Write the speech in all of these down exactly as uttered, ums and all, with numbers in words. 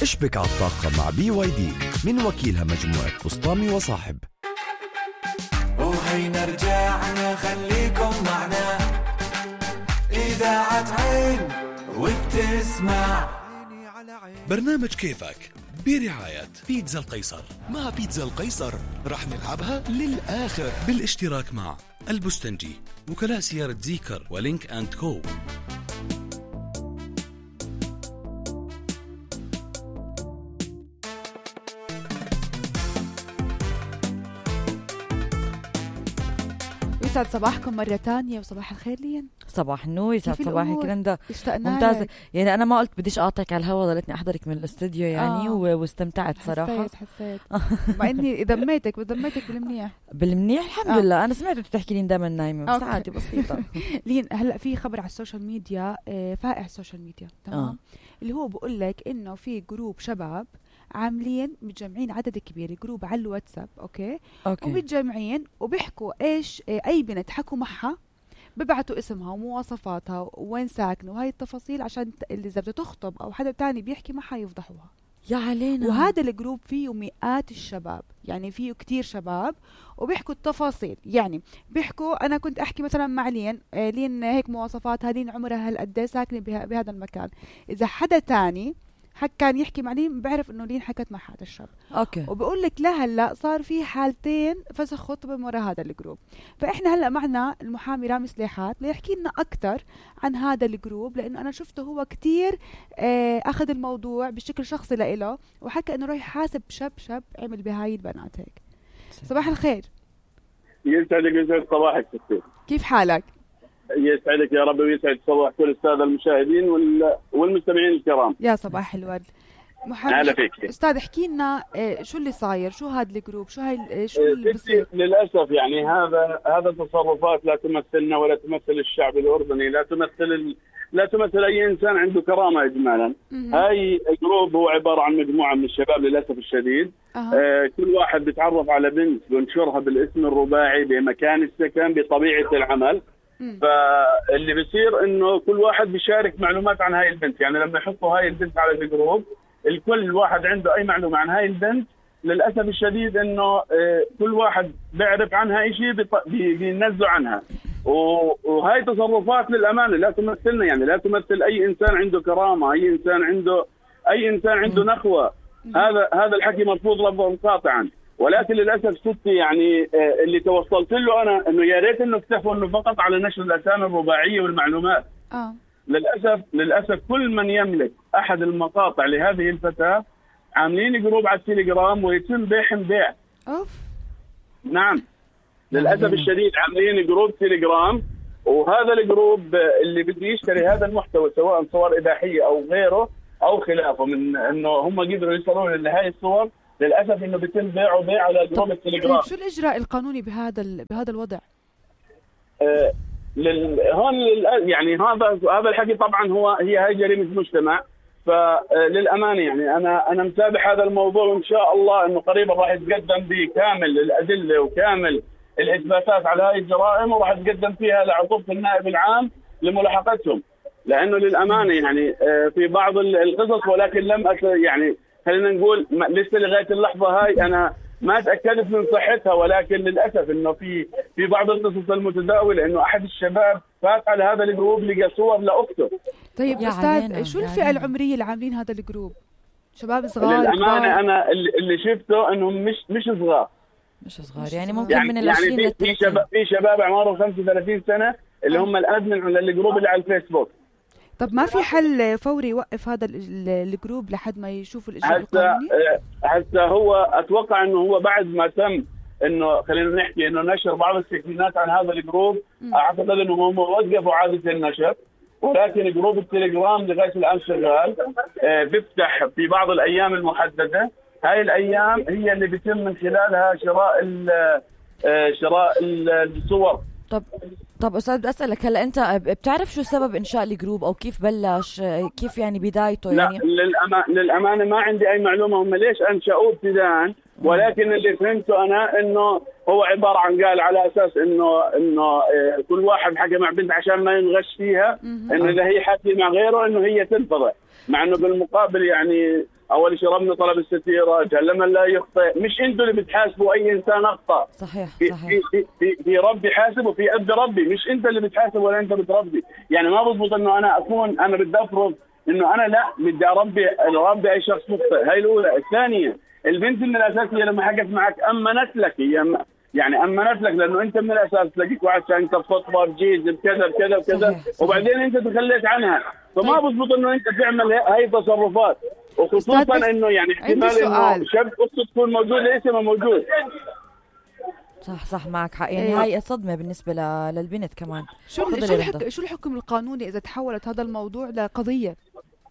اشبك على الطاقة مع بي واي دي من وكيلها مجموعة بسطامي وصاحب. وهينا رجعنا خليكم معنا إذاعة عين وبتسمع برنامج كيفك برعاية بيتزا القيصر. مع بيتزا القيصر رح نلعبها للآخر بالاشتراك مع البستنجي، وكلاء سيارة زيكر ولينك أند كو. يسعد صباحكم مرة تانية وصباح الخير لين. صباح النور، يسعد صباحك رندا. ممتازة. يعني أنا ما قلت بديش أقاطعك على الهوا، ضلتني أحضرك من الاستوديو يعني آه. واستمتعت صراحة. حسيت حسيت مع إني ذميتك وذميتك بالمنيح بالمنيح الحمد آه. لله. أنا سمعت بتحكي لي دائما نايمة، بس عادي بسيطة. لين هلأ في خبر على السوشيال ميديا فائع السوشيال ميديا تمام آه. اللي هو بقول لك إنه في جروب شباب عاملين متجمعين عدد كبير، جروب على الواتساب أوكي, أوكي. ومتجمعين وبيحكوا إيش أي بنت حكوا معها، ببعتوا اسمها ومواصفاتها وين ساكنة وهاي التفاصيل عشان اللي إذا بدها تخطب أو حدا تاني بيحكي معها يفضحوها. يا علينا. وهذا الجروب فيه مئات الشباب، يعني فيه كتير شباب وبيحكوا التفاصيل. يعني بيحكوا أنا كنت أحكي مثلا مع لين لين هيك مواصفاتها، لين عمرها هالقد ساكنة بهذا المكان. إذا حدا تاني حك كان يحكي مع لين بعرف انه لين حكت مع هذا الشاب اوكي، وبقول لك لا هلا صار في حالتين فسخ خطبه من وراء هذا الجروب. فاحنا هلا معنا المحامي رامي سليحات ليحكي لنا اكثر عن هذا الجروب، لانه انا شفته هو كتير آه اخذ الموضوع بشكل شخصي لإله وحكى انه راح يحاسب شاب شاب عمل بهاي البنات هيك. صباح الخير. يسعدك يسعد صباحك ستي. كيف حالك؟ يسعدك يا رب ويسعد صباح كل السادة المشاهدين والمستمعين الكرام. يا صباح الورد. محمد استاذ احكي لنا شو اللي صاير، شو هذا الجروب، شو هاي شو اللي بصير؟ للاسف يعني هذا هذا تصرفات لا تمثلنا ولا تمثل الشعب الاردني، لا تمثل لا تمثل اي انسان عنده كرامه اجمالا. هاي الجروب هو عباره عن مجموعه من الشباب للاسف الشديد. أه. آه كل واحد بيتعرف على بنت بنشرها بالاسم الرباعي بمكان السكن بطبيعه العمل. فاللي بيصير انه كل واحد بيشارك معلومات عن هاي البنت، يعني لما يحطوا هاي البنت على الجروب الكل واحد عنده اي معلومه عن هاي البنت. للاسف الشديد انه كل واحد بيعرف عنها شيء بينزلوا عنها، وهاي تصرفات للامانه لا تمثلنا، يعني لا تمثل اي انسان عنده كرامه، اي انسان عنده اي انسان عنده نخوه. هذا هذا الحكي مرفوض لفظا قاطعا. ولكن للاسف ستي يعني اللي توصلت له انا انه يا ريت انه اكتفوا انه فقط على نشر الاسامي الرباعيه والمعلومات. اه للاسف للاسف كل من يملك احد المقاطع لهذه الفتاه عاملين جروب على التليجرام ويتم بيعهم بيع. اوف نعم للاسف الشديد عاملين جروب تليجرام، وهذا الجروب اللي بده يشتري هذا المحتوى سواء صور اباحيه او غيره او خلافه من انه هم قدروا يوصلون لهي الصور، للاسف انه بيتم بيعه بيع على جروب التليجرام. شو الاجراء القانوني بهذا بهذا الوضع؟ آه لل... هون لل... يعني هذا هذا الحكي طبعا هو هي هاي جريمه مجتمع. فللامانه يعني انا انا متابع هذا الموضوع، وان شاء الله انه قريبا راح يتقدم بكامل الادله وكامل الاثباتات على هاي الجرائم، وراح يتقدم فيها لعقوبه النائب العام لملاحقتهم، لانه للامانه يعني آه في بعض القصص، ولكن لم أت... يعني خلينا نقول لسه لغايه اللحظه هاي انا ما تاكدت من صحتها، ولكن للاسف انه في في بعض القصص المتداوله انه احد الشباب فات على هذا الجروب لقى صور لاخته. طيب استاذ شو الفئه العمريه اللي عاملين هذا الجروب؟ شباب صغار؟ للامانه انا اللي شفته انهم مش مش صغار مش صغار يعني ممكن يعني من العشرين يعني في شباب في شباب اعمارهم خمسة وثلاثين سنه اللي هم الادمن على الجروب اللي على الفيسبوك. طب ما في حل فوري يوقف هذا الجروب لحد ما يشوفوا الاجراء القانوني؟ حتى هو اتوقع انه هو بعد ما تم انه خلينا نحكي انه نشر بعض السكينات عن هذا الجروب، اعتقد انه هم وقفوا عاده النشر، ولكن جروب التليجرام لغايه الان شغال. آه بيفتح في بعض الايام المحدده، هاي الايام هي اللي بيتم من خلالها شراء آه شراء الصور. طب طب استاذ بدي اسالك هلا انت بتعرف شو سبب انشاء الجروب او كيف بلش، كيف يعني بدايته؟ يعني لا للأما... للامانه ما عندي اي معلومه هم ليش انشأوه ابتداء، ولكن اللي فهمته انا انه هو عباره عن قال على اساس انه انه كل واحد حكى مع بنت عشان ما ينغش فيها، انه اذا هي حكي مع غيره انه هي تنفضح، مع انه بالمقابل يعني اول شيء ربنا طلب الستيره، جل من لا يخطئ. مش انتوا اللي بتحاسبوا اي انسان اخطا. صحيح في صحيح في في, في ربي حاسب وفي اب ربي، مش انت اللي بتحاسب ولا انت بتربي. يعني ما بضبط انه انا اكون انا بدي افرض انه انا لا بدي اربي اربي اي شخص مخطئ. هاي الاولى. الثانيه البنت من الاساس هي لما حكت معك امنت لك، هي يعني امنت لك لانه انت من الاساس تلاقيك واحد انت بفضفض بجيز بكذا بكذا بكذا، وبعدين انت تخليت عنها. فما بضبط انه انت تعمل هاي التصرفات، وخصوصا انه يعني احتمال انه شاب قصه تكون موجوده اسمها موجود. صح صح معك حق. يعني هاي صدمه بالنسبه للبنت كمان. شو شو, الحك... شو الحكم القانوني اذا تحولت هذا الموضوع لقضيه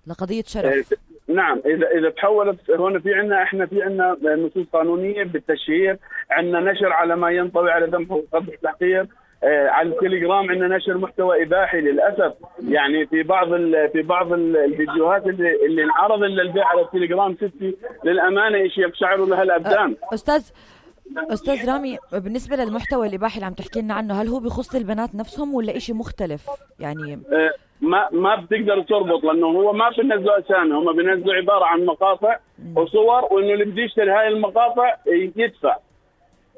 لقضيه شرف؟ نعم، اذا اذا تحولت هون في عندنا احنا في عندنا نصوص قانونيه بالتشهير، عندنا نشر على ما ينطوي على ذنب وقبح التحقير. آه على التليجرام عندنا نشر محتوى اباحي للاسف. يعني في بعض في بعض الفيديوهات اللي اللي انعرض للبيع على التليجرام ستي للامانه شيء يقشعر لها الابدان. استاذ استاذ رامي، بالنسبه للمحتوى الاباحي اللي عم تحكي لنا عنه، هل هو بيخص البنات نفسهم ولا شيء مختلف؟ يعني آه ما ما بتقدر تربط، لانه هو ما بينزلوا اسامي، هم بينزلوا عباره عن مقاطع وصور، وانه اللي بده يشتري هاي المقاطع يدفع.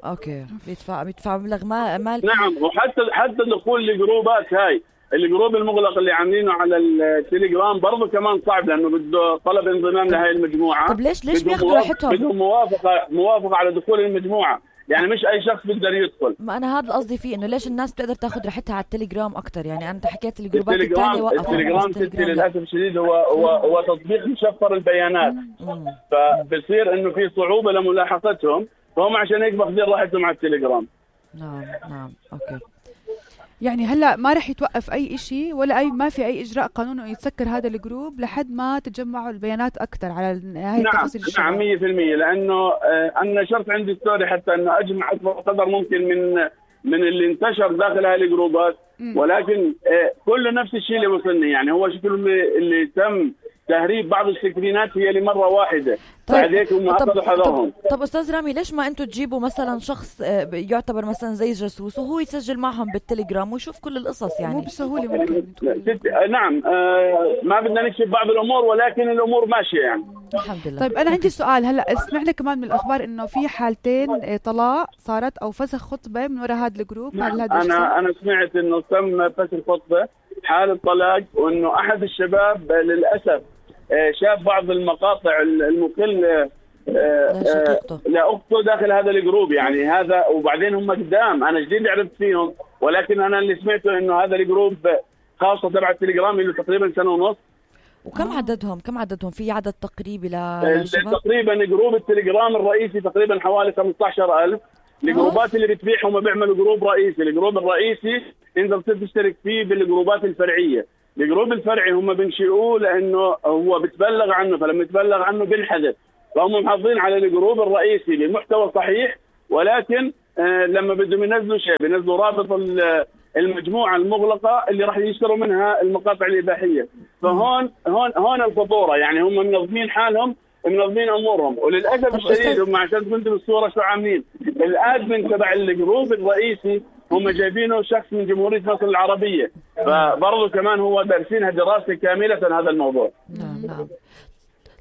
اوكي، بيدفع بيدفع مبلغ ما مال. نعم، وحتى حتى دخول الجروبات هاي الجروب المغلق اللي عاملينه على التليجرام برضه كمان صعب، لانه بده طلب انضمام لهي المجموعه. طب ليش ليش بياخذوا راحتهم؟ بدهم موافقه موافقه على دخول المجموعه، يعني مش اي شخص بيقدر يدخل. ما انا هذا قصدي فيه، انه ليش الناس بتقدر تاخذ راحتها على التليجرام اكثر؟ يعني انا حكيت الجروبات الثانيه وقفوا. التليجرام ستي للاسف الشديد هو هو هو تطبيق مشفر البيانات، فبصير انه في صعوبه لملاحقتهم، فهم عشان هيك باخذين راحتهم على التليجرام. نعم نعم اوكي. يعني هلا ما رح يتوقف اي شيء ولا اي ما في اي اجراء قانوني يتسكر هذا الجروب لحد ما تجمعوا البيانات اكثر على هاي التفاصيل. نعم نعم مية بالمية، لانه آه انا نشرت عندي ستوري حتى انه اجمع اكبر قدر ممكن من من اللي انتشر داخل هاي الجروبات، ولكن آه كله نفس الشيء اللي وصلني. يعني هو شكله اللي, اللي تم تهريب بعض السكرينات هي لمره واحده. طيب طب, طب, طب استاذ رامي، ليش ما انتم تجيبوا مثلا شخص يعتبر مثلا زي جاسوس وهو يسجل معهم بالتليجرام ويشوف كل القصص؟ يعني مو بسهوله ممكن. نعم آه ما بدنا نكشف بعض الامور، ولكن الامور ماشيه يعني الحمد لله. طيب انا عندي سؤال، هلا سمعنا كمان من الاخبار انه في حالتين طلاق صارت او فسخ خطبه من وراء هذا الجروب. نعم. انا انا سمعت انه تم فسخ خطبه حاله طلاق، وانه احد الشباب للاسف شاف بعض المقاطع المقل لأخته داخل هذا الجروب. يعني هذا، وبعدين هم قدام انا جديد عرفت فيهم، ولكن انا اللي سمعته انه هذا الجروب خاصه تبع التليجرام له تقريبا سنه ونص. وكم عددهم كم عددهم في عدد تقريبي للشباب؟ تقريبا جروب التليجرام الرئيسي تقريبا حوالي خمسة عشر ألف. الجروبات اللي بتبيع هم بيعملوا جروب رئيسي. الجروب الرئيسي انت بتشترك فيه بالجروبات الفرعيه. الجروب الفرعي هم بنشئوه لانه هو بتبلغ عنه، فلما يتبلغ عنه بنحذف، فهم محافظين على الجروب الرئيسي بمحتوى صحيح، ولكن آه لما بدهم ينزلوا شيء بينزلوا رابط المجموعه المغلقه اللي راح يشتروا منها المقاطع الاباحيه. فهون هون هون الخطوره. يعني هم منظمين حالهم، منظمين امورهم، وللاسف الشديد هم عشان كنتوا بالصوره شو عاملين الادمن تبع الجروب الرئيسي هم جايبينه شخص من جمهورية مصر العربية، فبرضه كمان هو دارسينها دراسة كاملة هذا الموضوع. نعم نعم.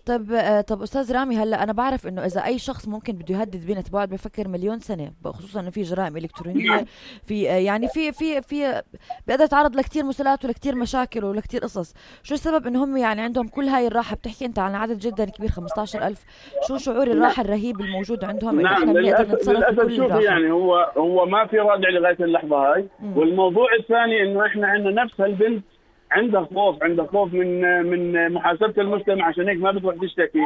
طب طب استاذ رامي، هلا انا بعرف انه اذا اي شخص ممكن بده يهدد بنت بعد بفكر مليون سنه، خصوصا انه في جرائم الكترونيه، في يعني في في في بيقدر يتعرض لكثير مسلسلات ولكثير مشاكل ولكثير قصص. شو السبب ان هم يعني عندهم كل هاي الراحه؟ بتحكي انت عن عدد جدا كبير خمسة عشر ألف، شو شعور الراحه الرهيب الموجود عندهم انه احنا بنقدر نتصرف بكل الراحه؟ يعني هو هو ما في رادع لغايه اللحظه هاي. مم. والموضوع الثاني انه احنا عندنا نفس هالبنت عندها خوف، عندها خوف من من محاسبه المجتمع، عشان هيك ما بتروح تشتكي.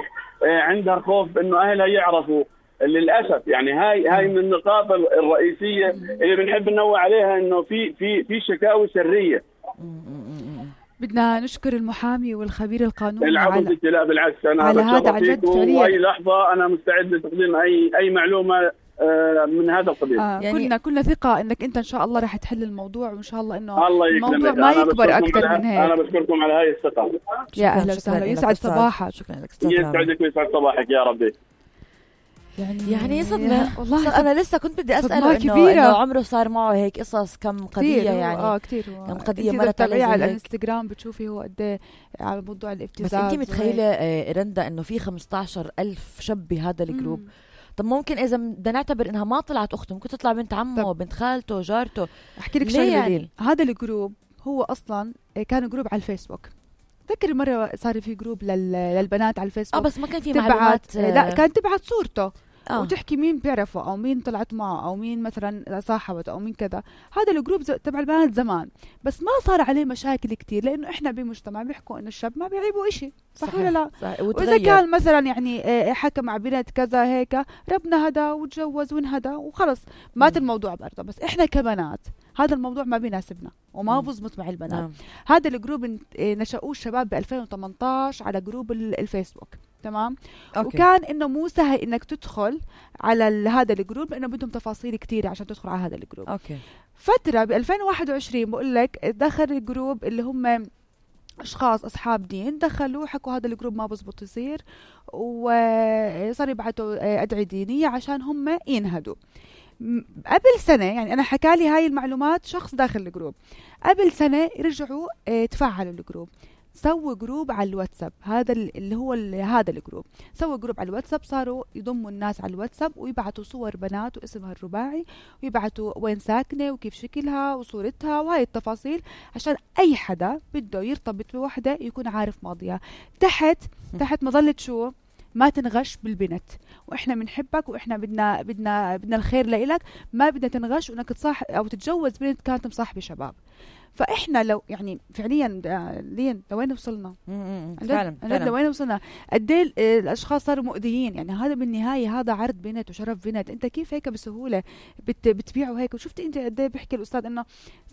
عندها خوف انه اهلها يعرفوا. للاسف يعني هاي هاي من النقاط الرئيسيه اللي بنحب ننوه عليها، انه في في في شكاوي سريه. بدنا نشكر المحامي والخبير القانوني العفو. لا بالعكس، انا على هذا عن جد فعليا اي لحظه انا مستعد لتقديم اي اي معلومه من هذا القبيل. آه يعني كلنا كلنا ثقة انك انت ان شاء الله راح تحل الموضوع، وان شاء الله انه الموضوع ما يكبر اكثر من هيك. انا بشكركم على هاي الثقة. يا اهلا وسهلا، يسعد صباحك. شكرا لك. يسعدك ويسعد صباحك يا ربي. يعني يعني صدمة والله. انا لسه كنت بدي اساله صدمة انه كبيرة. إنه عمره صار معه هيك قصص كم قضيه كتير يعني اه كثير كم قضيه مرت مرت عليه على زي هيك. الانستغرام بتشوفي هو قد ايه على موضوع بس الابتزاز. انت متخيله آه، رندا انه في خمستاشر ألف شاب بهذا الجروب؟ مم. طب ممكن اذا بدنا نعتبر انها ما طلعت اخته ممكن تطلع بنت عمه بنت خالته جارته. احكي لك ليه شغله يعني؟ يعني؟ هذا الجروب هو اصلا كان جروب على الفيسبوك. تذكر مرة صار في جروب لل... للبنات على الفيسبوك. اه بس ما كان في تبعت معلومات. لا كانت تبعت صورته آه. وتحكي مين بيعرفه او مين طلعت معه او مين مثلا صاحبته او مين كذا. هذا الجروب تبع البنات زمان بس ما صار عليه مشاكل كتير لانه احنا بمجتمع بيحكوا انه الشاب ما بيعيبوا إشي، صح ولا لا؟ صحيح. واذا كان مثلا يعني حكى مع بنت كذا هيك ربنا هدا وتجوز وانهدى وخلص مات الموضوع برضه. بس احنا كبنات هذا الموضوع ما بيناسبنا وما بزبط مع البنات. نعم. هذا الجروب نشأوه الشباب ب ألفين وثمانية عشر على جروب الفيسبوك، تمام؟ أوكي. وكان انه مو سهل انك تدخل على هذا الجروب لانه بدهم تفاصيل كثيره عشان تدخل على هذا الجروب. اوكي. فتره ب ألفين وواحد وعشرين بقول لك دخل الجروب اللي هم اشخاص اصحاب دين دخلوا حكوا هذا الجروب ما بزبط يصير وصار يبعثوا ادعية دينيه عشان هم ينهدوا. قبل سنة يعني أنا حكالي هاي المعلومات شخص داخل الجروب، قبل سنة رجعوا اه تفعلوا الجروب، سووا جروب على الواتساب. هذا اللي هو هذا الجروب سووا جروب على الواتساب، صاروا يضموا الناس على الواتساب ويبعتوا صور بنات واسمها الرباعي ويبعتوا وين ساكنة وكيف شكلها وصورتها وهاي التفاصيل عشان أي حدا بده يرتبط بوحدة يكون عارف ماضيها. تحت تحت مظلة شو؟ ما تنغش بالبنت، واحنا بنحبك واحنا بدنا بدنا بدنا الخير لإلك، ما بدنا تنغش وانك تصاحب او تتجوز بنت كانت مصاحبه شباب. فاحنا لو يعني فعليا لين لوين وصلنا؟ فعلا فعلا لوين وصلنا؟ قد ايه الاشخاص صاروا مؤذيين. يعني هذا بالنهايه هذا عرض بنت وشرف بنت، انت كيف هيك بسهوله بت بتبيعوا هيك؟ وشفتي انت قد ايه بيحكي الاستاذ انه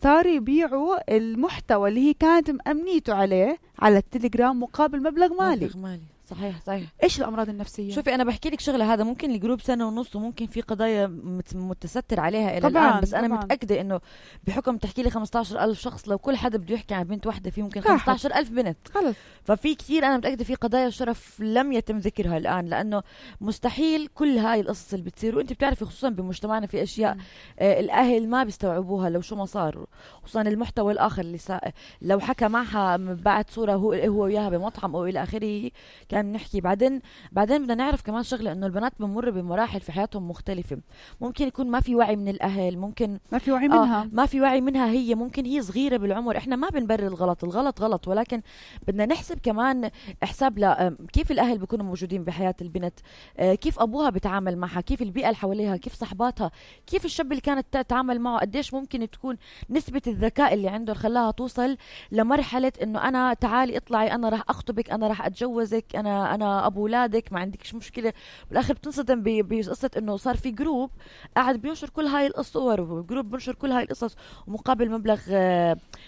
صاروا يبيعوا المحتوى اللي هي كانت مأمنيته عليه على التليجرام مقابل مبلغ مالي. مبلغ مالي صحيح صحيح. ايش الامراض النفسيه؟ شوفي انا بحكي لك شغله، هذا ممكن الجروب سنه ونص وممكن في قضايا متستر عليها الى طبعاً الان، بس انا طبعاً. متاكده انه بحكم تحكي لي خمستاشر ألف شخص لو كل حدا بده يحكي عن بنت واحده في ممكن خمستاشر ألف بنت خلص. ففي كثير انا متاكده في قضايا شرف لم يتم ذكرها الان، لانه مستحيل كل هاي القصص اللي بتصير. وانت بتعرفي خصوصا بمجتمعنا في اشياء آه الاهل ما بيستوعبوها لو شو ما صار، خصوصا المحتوى الاخر اللي سا... لو حكى معها بعد صوره هو هو وياها بمطعم او الى اخره كان بنحكي. بعدين بعدين بدنا نعرف كمان شغله انه البنات بمر بمراحل في حياتهم مختلفه، ممكن يكون ما في وعي من الاهل، ممكن ما في وعي منها آه ما في وعي منها هي، ممكن هي صغيره بالعمر. احنا ما بنبرر الغلط، الغلط غلط، ولكن بدنا نحسب كمان حساب ل كيف الاهل بيكونوا موجودين بحياه البنت، آه كيف ابوها بيتعامل معها، كيف البيئه اللي حواليها، كيف صحباتها، كيف الشاب اللي كانت تتعامل معه، قديش ممكن تكون نسبه الذكاء اللي عنده خلاها توصل لمرحله انه انا تعالي اطلعي انا راح اخطبك انا راح اتجوزك انا انا ابو اولادك ما عندكش مشكله. بالاخر بتنصدم بقصه انه صار في جروب قاعد بينشر كل هاي الصور وجروب بينشر كل هاي القصص ومقابل مبلغ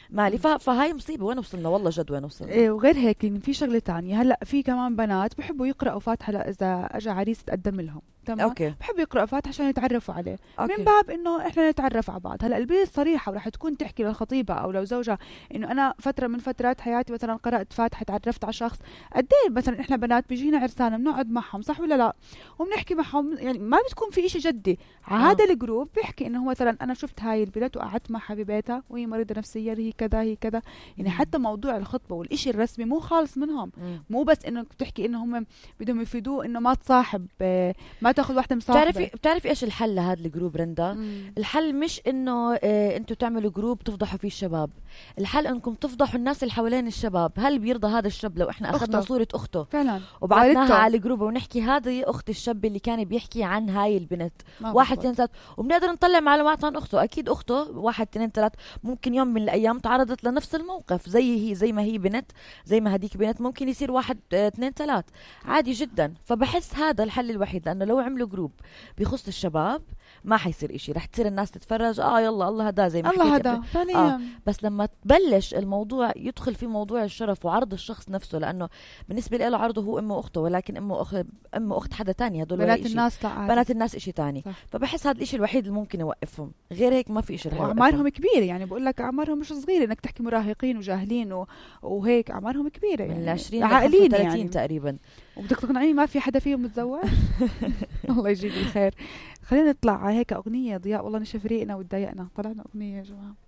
مالي. فهاي مصيبه. وين وصلنا والله جد وين وصلنا؟ إيه وغير هيك في شغله تانية. هلا في كمان بنات بحبوا يقراوا فاتحه اذا اجى عريس تقدم لهم، تمام؟ اوكي. بحبوا يقراوا فاتحه عشان يتعرفوا عليه. أوكي. من باب انه احنا نتعرف على بعض. هلا البنت صريحه وراح تكون تحكي للخطيبه او لو زوجها انه انا فتره من فترات حياتي مثلا قرات فاتحه تعرفت على شخص. قد ايه مثلا احنا بنات بيجينا عرسان بنقعد معهم، صح ولا لا؟ وبنحكي معهم، يعني ما بتكون في إشي جدي. على هذا الجروب بيحكي انه هو مثلا انا شفت هاي البنت وقعدت معها ببيتها وهي مريضه نفسيا هي كذا هي كذا. يعني حتى موضوع الخطبه والإشي الرسمي مو خالص منهم. مم. مو بس انه بتحكي انه هم بدهم يفيدوه انه ما تصاحب، ما تاخذ واحده مصاحبه. بتعرفي بتعرفي ايش الحل لهذا الجروب رندا؟ مم. الحل مش انه اه انتوا تعملوا جروب تفضحوا فيه الشباب، الحل انكم تفضحوا الناس اللي حوالين الشباب. هل بيرضى هذا الشاب لو احنا اخذنا أخته. صوره اخته فعلا وبعثناها على الجروب ونحكي هذه اخت الشاب اللي كان بيحكي عن هاي البنت واحد اثنين ثلاث، وبنقدر نطلع معلومات عن اخته. اكيد اخته واحد اثنين ثلاث ممكن يوم من الايام تعرضت لنفس الموقف زي هي زي ما هي بنت زي ما هديك بنت، ممكن يصير واحد اثنين ثلاث عادي جدا. فبحس هذا الحل الوحيد، لانه لو عملوا جروب بيخص الشباب ما حيصير إشي، رح تصير الناس تتفرج اه يلا الله هدا زي ما الله حكيت هدا ثانيا. آه. بس لما تبلش الموضوع يدخل في موضوع الشرف وعرض الشخص نفسه، لانه بالنسبه له عرضه هو امه واخته، ولكن امه اخت امه اخت حدا تاني، هدول بنات الناس لا بنات الناس إشي تاني. صح. فبحس هذا الإشي الوحيد اللي ممكن يوقفهم، غير هيك ما في إشي رح يوقفهم. اعمارهم كبيره، يعني بقول لك اعمارهم مش صغيره انك تحكي مراهقين وجاهلين و... وهيك اعمارهم كبيره، يعني من العشرين عاقلين لثلاثين يعني تقريبا. وبدك تقنعني ما في حدا فيهم متزوج؟ الله يجيب الخير. خلينا نطلع هيك اغنيه ضياء، والله نشف ريقنا وتضايقنا، طلعنا اغنيه يا جماعه.